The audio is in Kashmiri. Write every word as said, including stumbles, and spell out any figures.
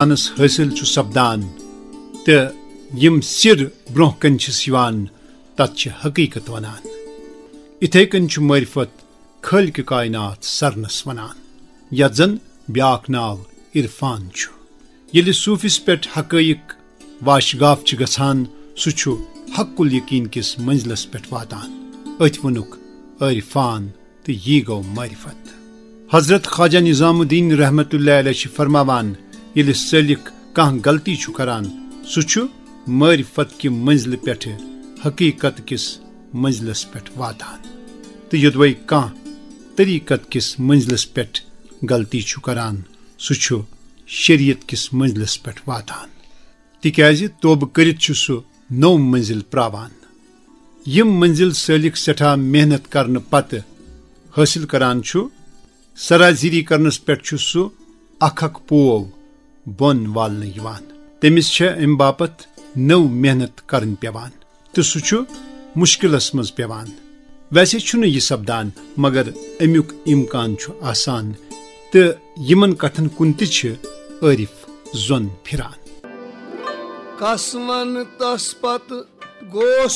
انسانس حٲصِل چھُ سپدان تہٕ یِم سِر برونٛہہ کنہِ چھِس یِوان، تتھ چھِ حقیقت ونان۔ اِتھے کٔنۍ چھُ معرفت خٲلقِ کائنات سرنس ونان، یتھ زن بیاکھ ناو عرفان چھُ۔ ییٚلہِ صوفس پٮ۪ٹھ حقائق واشگاف چھِ گژھان، سُہ چھُ حق الیقین کِس منزلس پٮ۪ٹھ واتان۔ أتھۍ ووٚنُکھ عرفان تہٕ یی گوٚو معرفت۔ حضرت خواجہ نظام الدین رحمت اللہ علیہ چھِ فرماوان، ییٚلہِ سٲلِک کانٛہہ غلطی چھُ کران، سُہ چھُ معرفت کہِ منزلہِ پٮ۪ٹھٕ حقیقت کِس منزلس پٮ۪ٹھ واتان، تہٕ یوٚدوَے کانٛہہ طریقت کِس منزلس پٮ۪ٹھ غلطی چھُ کران، سُہ چھُ شریعت کِس منزلس پٮ۪ٹھ واتان، تِکیازِ توبہٕ کٔرِتھ چھُ سُہ نٔو منزل پراوان۔ یِم منزل سٲلِک سٮ۪ٹھاہ محنت کرنہٕ پتہٕ حٲصِل کران چھُ، سرازیری کرنس پٮ۪ٹھ چھُ سُہ اکھ اکھ پوو بۄن والنہٕ یِوان۔ تٔمِس چھےٚ امہِ باپتھ نٔو محنت کرٕنۍ پٮ۪وان تہٕ سُہ چھُ مُشکِلس منٛز پٮ۪وان۔ ویسے چھُنہٕ یہِ سپدان، مگر امیُک امکان چھُ آسان، تہٕ یِمن کتھن کُن تہِ چھِ عٲرِف زۄن پھِران۔ کس ون تس پتہٕ گوس